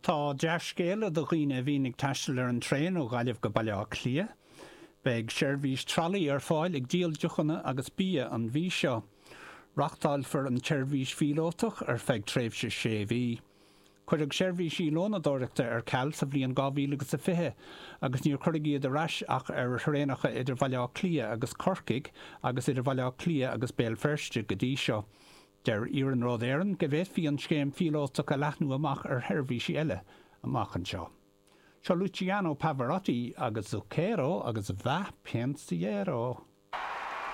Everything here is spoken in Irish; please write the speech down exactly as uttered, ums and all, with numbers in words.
Tá dea-scéala do dhaoine a bhíonn ag taisteal ar an traein ó Ghaillimh go Baile Átha Cliath. Beidh seirbhís tralaí ar fáil ag díol deochanna agus bia an mhí seo. Reáchtálfar an tseirbhís phíolótach ar feadh tréimhse sé mhí. Cuireadh seirbhísí lónadóireachta ar ceal sa bhliain dhá mhíle agus a fiche agus níor cuireadh iad ar ais ach ar thraenacha idir Bhaile Átha Cliath agus Corcaigh agus idir Bhaile Átha Cliath agus Béal Feirste go dtí seo. Deir Iarnród Éireann go bhféadfaí an scéim phíolótach a leathnú amach ar sheirbhísí eile amach anseo. Seo Luciano Pavarotti agus Zucchero agus Va Pensiero.